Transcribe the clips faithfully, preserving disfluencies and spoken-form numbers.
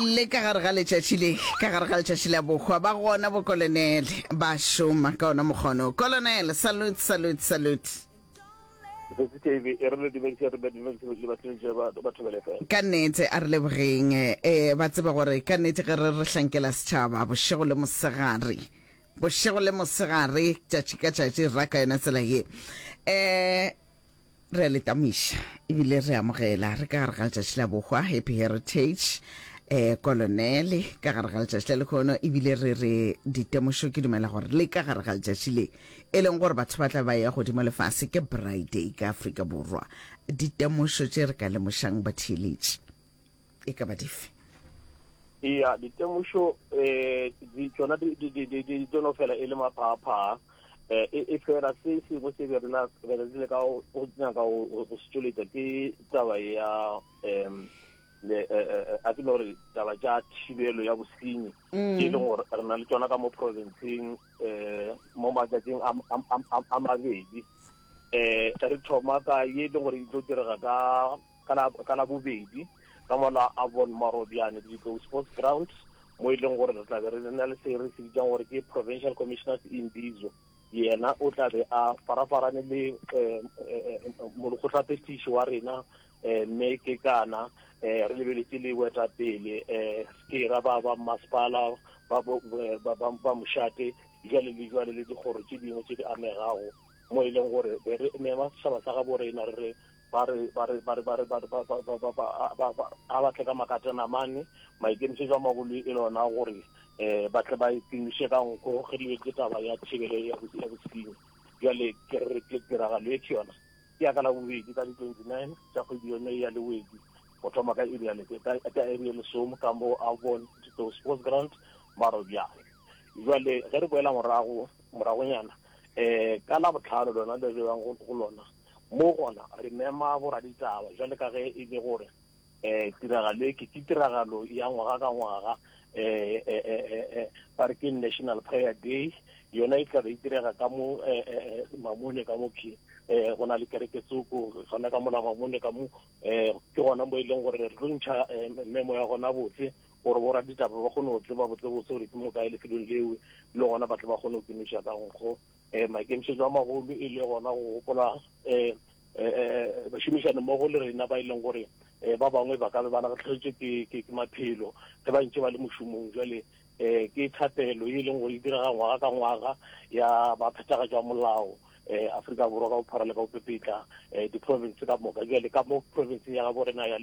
Le ka gare ga letšatši le, ka gare ga letšatši la bohwa, ba gona bokolonele ba šoma ka ona mokgono. Colonel, salute, salute, salute. E re le dumedise, re dumedise le batheletši ba ba Thobela F M. Ka nnete a re lebogeng eh ba tsebe gore ka nnete ge re re hlankela setšhaba bošego le mosegare, bošego le mosegare, tšatši ka tšatši, ra ka yona tsela ye. Eh re a le tamiša ebile re amogela re ka gare ga letšatši la bohwa. Happy Heritage, eh Colonel, ka gare ga letšatši la lekhono, ebile re re ditemošo. Ke dumela gore le ka gare ga letšatši le e leng gore batho ba tla ba ya godimo lefase ke Braai Day ka Afrika Borwa, ditemošo tše re ka lemošang batheeletši e ka ba dife? Iya, ditemošo um di tsona di di di di di tlo no fela e le maphaaphaa um e e fela se sengwe se be re la be re le ka go nyaka go se tšweletša ke taba ya um le a ke no gore taba tša thibelo ya bosenyi ke e leng gore re na le tsona ka mo provinceng um mo matšatšing a mabedi. um re thoma ka ye e leng gore e tlo direga ka ka la bobedi ka mola Avon Marobiane Ditlou Sports Grounds, mo e leng gore re tla be re na le se re se bitsang gore ke Provincial Commissioners Imbizo. Yena o tla be a farafarane le molekgotlaphethiši wa rena mme ke kana re lebeletse le boetapele ke ra ba ba masepala ba ba mošate jwale le jwale le dikgoro tše dingwe tše di amegago, mo e leng gore be re mema setšhaba sa gabo rena re re ba re ba re ba re ba re ba re ba ba ba ba ba a batle ka makatana mane. Maikemišetšo a magolo e lona gore um ba tle ba itumiše ka nko ge di ke taba ya thibelo ya bosenyi. Jwale ke re ke tiragalo e ke yona ke ya ka la bobedi ka di-twenty nine tša kgwedi yone ya Lewedi, go thoma ka iri ya ka iri ya lesome ka mo Avon Ditlou Sports Ground Marobiane. Jwale ge re boela morago moragonyana um ka la botlhano lona le re bang go lona mo gona re mema boraditaba jwale ka ge e le gore um tiragalo e ke ke tiragalo ya ngwaga ka ngwaga um ba re ke National Prayer Day. Yona e tlabe e direga ka mo Mamone ka mo ke um go na le kereke tsoko gona ka mola Mamone ka mo um ke gona mo e leng gore re tlo ntšha memo ya gona botse gore boraditaba ba kgone go tseba botsebotse gore ke mo kae lefelong leo, le gona ba tle ba kgone go kemiša ka nkgo. um maikemišetšo a magolo e le gona go gopola um bašomišane mmogo le rena ba e leng gore um ba bangwe ba ka be ba latlhegetswe ke ke maphelo ge ba ntse ba le mošomong. Jwale um ke thapelo e leng gore e direga ngwaga ka ngwaga ya baphethagatši ba molao um Afrika Borwa ka bophara le ka bopepetla um di-province ka moka. Jwale ka mo provinceng ya gabo rena ya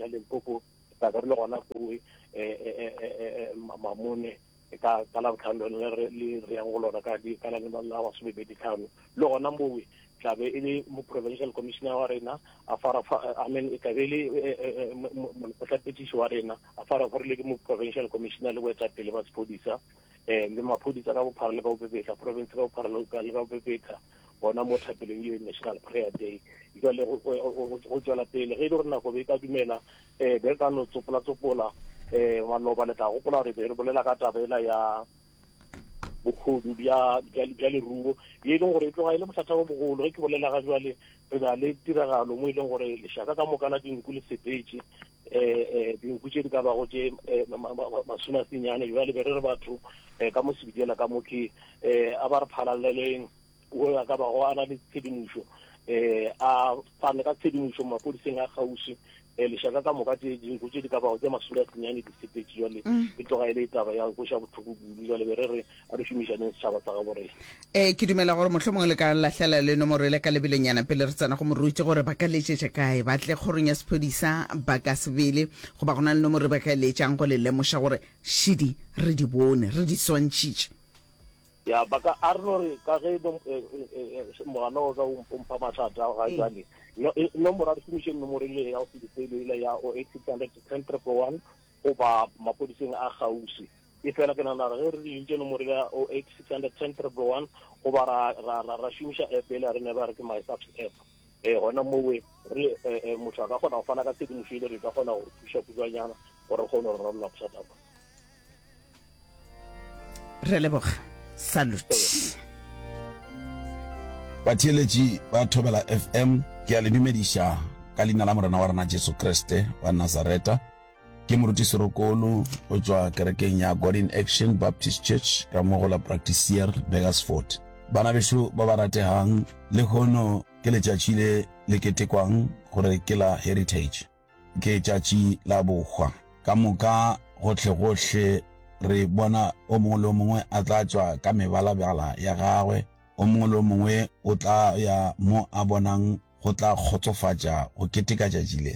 Limpopo tla be re le gona kowe um Mamone ka ka la botlhano lone le le re yang go lona ka di ka la la masomepedi tlhano. Le gona mowe tla be e le mo provincial commissioner wa rena a fara, I mean, e tla be e le molekgotlaphethiši wa rena a farafarile ke mo provincial commissioner le boetapele ba sephodisa um le maphodisa ka bophara le ka bopepetla, province ka bophara le ka bopepetla gona mo thapelong ye National Prayer Day. Jale go tswela pele ge e le gore nako be e ka dumela um be re ka no tsopola-tsopola um maloba le tla gopola gore be re bolela ka taba ela ya bogodu bja bja leruo ye e leng gore e tloga e le bothata bo bogolo. Ge ke bolela ga jwale re na le tiragalo mo e leng gore lešaka ka moka la dinku le sepetše um dinku tše di ka bago tše masome a senyane. Jwale be re re batho um ka mo sebidela ka mo ke um a ba re phalaleleng o a ka bago a na le tshedimošo um a fane ka tshedimošo maphodiseng a kgauswi. um lešaka ka moka tše dinku tše di ka bago tše masome a senyane di sepetše. Jwale e tloga e le taba ya koša bohloko kudu. Jwale be re re a re šomišaneng setšhaba sa gabo rena. um ke dumela gore mohlomongwe le ka lahlela le nomoro ele ka lebelonyana pele re tsena go moruti gore ba ka letšetša kae, ba tle kgorong ya sephodisa ba ka sebele, goba go na le nomoro ba ka letšang go le lemoša gore šidi re di bone re di swantšhitše. Ya ba ka a re no re ka ge mogala o ka o mpha mathata ga jwale nomoro a re šomišeng nomoro ile ya go sedifelo ile ya o eight six hundred ten triple one goba maphodiseng a kgauswi. E fela ke nagana gore ge re dintše nomoro ya o eight six hundred ten triple one goba ra ra ra ra šomiša app ele re ne ba re ke My Subs app um gona mowe re motho a ka kgona go fana ka tshedimošo ile re ka kgona go thuša kutšwanyana gore re kgone go rarolla bothata bo. Re leboga, salute. Batheeletši ba Thobela F M, ke a le dumediša ka leina la Morena wa rena Jesu Kriste wa Nazareta. Ke Moruti Serokolo go tšwa kerekeng ya God in Action Baptist Church ka mo go la Praktiseer, Burgersfort. Bana bešo ba ba rategang, lehono ke letšatši le le ketekwang gore ke la Heritage. Ke tšatši la bohwa. Ka moka gohlegohle re bona o mongwe le o mongwe a tla tšwa ka mebalabala ya gagwe, o mongwe le o mongwe o tla ya mo a bonang go tla kgotsofatša go keteka tšatši le.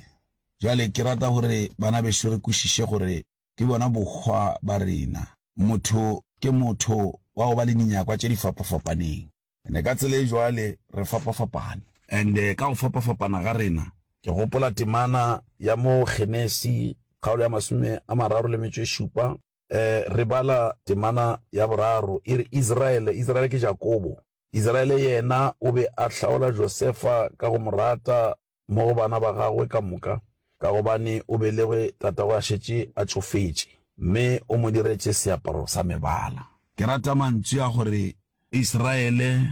Bjale ke rata gore bana bešo re kwešiše gore ke bona bohwa ba rena. Motho ke motho wa go ba le dinyakwa tše di fapafapaneng. Ene ka tsela e jwale re fapafapane. And ka go fapafapana ga rena, ke gopola temana ya mo Genesi kgaolo ya masome a mararo le metšo e šupa, re bala temana ya boraro, e re, Israele, Israele ke Jakobo, Israele yena o be a hlaola Josefa ka go mo rata mo go bana ba gagwe ka moka, ka gobane o belegwe tatagwe a šetše a tšofetše, mme o mo diretše seaparo sa mebala. Ke rata mantšu a gore Israele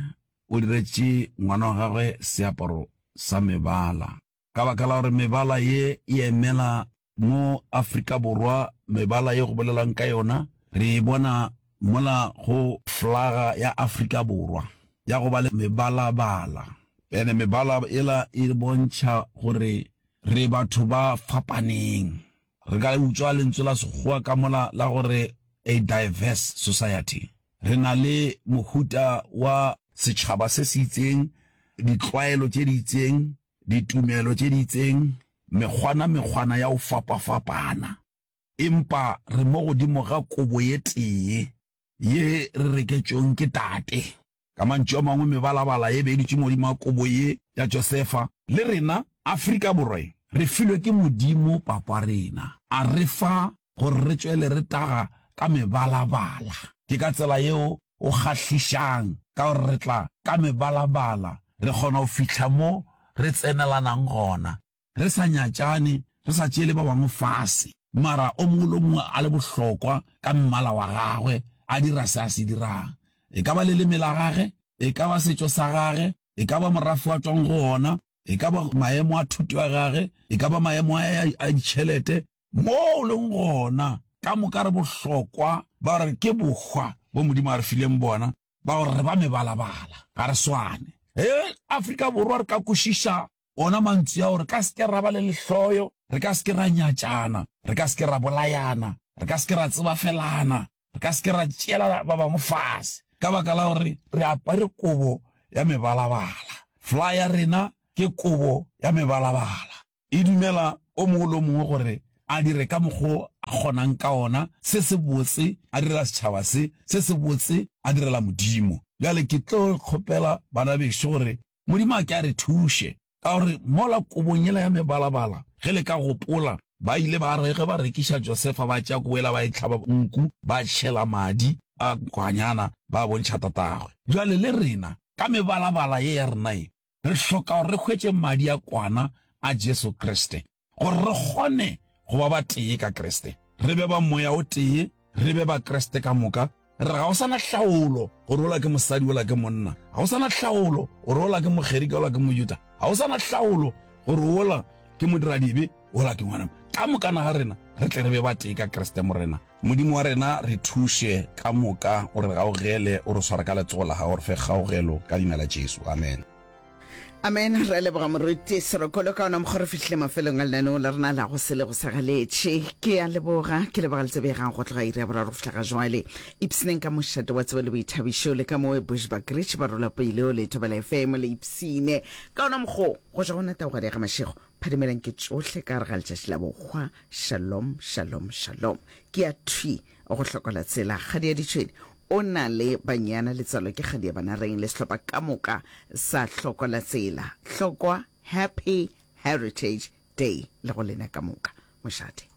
o diretše ngwana wa gagwe seaparo sa mebala, ka baka la gore mebala ye e emela mo Afrika Borwa, mebala ye go bolelwang ka yona re e bona mola go flaga ya Afrika Borwa ya go ba le mebalabala. Ene mebala ela e bontšha gore re batho ba fapaneng. Re ka utswa lentswe la Sekgowa ka mola la gore a diverse society. Re na le mohuta wa setšhaba se se itseng, ditlwaelo tše di itseng, ditumelo tše di itseng, mekgwana mekgwana ya go fapafapana. Empa re mo godimo ga kobo ye tee ye re reketšweng ke Tate. Ka mantšu a mangwe, mebalabala ye be e dutše modimo ga kobo ye ya Josefa. Le rena, Afrika Borwa ye, re filwe ke Modimo Papa rena, a re fa gore re tšwele re taga ka mebalabala. Ke ka tsela yeo o kgahlišang, ka gore re tla ka mebalabala, re kgona go fihla mo re tsenelanang gona, re sa nyatšane, re sa tšeele ba bangwe fase, mara o mongwe le o mongwe a le bohlokwa ka mmala wa gagwe, a dira se a se dirang. E ka ba leleme la gage, e ka ba setšo sa gage, e ka ba morafe wa tšwang go ona, e ka ba maemo a thuto ya gage, e ka ba maemo a a ditšhelete, mo o leng gona, ka moka re bohlokwa ba gore ke bohwa bo Modimo a re fileng bona, ba gore re ba mebalabala, ga re swane. Ge Afrika Borwa re ka kwešiša ona mantšu ao, re ka se ke ra ba le lehloyo, re ka se ke ra nyatšana, re ka se ke ra bolayana, re ka se ke ra tsebafelana, re ka se ke ra tšeela ba bangwe fase, ka baka la gore re apare kobo ya mebalabala. Fly ya rena ke kobo ya mebalabala. E dumela o mongwe le o mongwe gore a dire ka mokgo a kgonang ka ona, se se botse a direla setšhaba se, se se botse a direla Modimo. Bjale ke tlo kgopela bana bešo gore Modimo a ke a re thuše, ka gore mola kobong yela ya mebalabala, ge le ka gopola, ba ile ba re ge ba rekiša Josefa, ba tšea kobo yela ba e hlaba nku, ba tšhela madi a kwanyana, ba bontšha tatagwe. Bjale le rena, ka mebalabala ye ya rena ye, re hloka gore re hwetše madi a kwana a Jesu Kriste, gore re kgone go ba batee ka Kriste, re be ba moya o tee, re be ba Kriste ka moka. Re ga o sa na hlaolo gore ola ke mosadi ola ke monna, ga o sa na hlaolo gore ola ke Mogerika ola ke Mojuda, ga o sa na hlaolo gore ola ke modiradibe ola ke ngwana. Ka mokana ga rena re tle re be batee ka Kriste Morena. Modimo wa rena, re thuše ka moka, o re gaogele, o re sware ka letsogo la gago, re fe kgaogelo ka leina la Jesu. Amen. Amen. Re a leboga Moruti Serokolo ka ona mokgwa re fihlile mafelong a lenaneo la rena la go se le go sa galetše. Ke a leboga, ke leboga le tsebegang go tloga iri ya boraro go fihla ga jwale. Ipshineng ka mošate wa tsebo le boithabišo le ka mowe Bushbuckridge ba rola pele le Thobela F M le ipshine ka ona mokgwa go tšwa go na taugadi ya ga Mashego. Phadimelang ke tšohle ka gare ga letšatši la bohwa. Shalom, shalom, shalom. Ke ya thwi go hlokola tsela kgadi ya ditšhwene. O na le banyana letswalo ke kgadi ya banareng le sehlopha ka moka sa hlokola tsela. Hlokwa Happy Heritage Day le go lena ka moka. Mošate.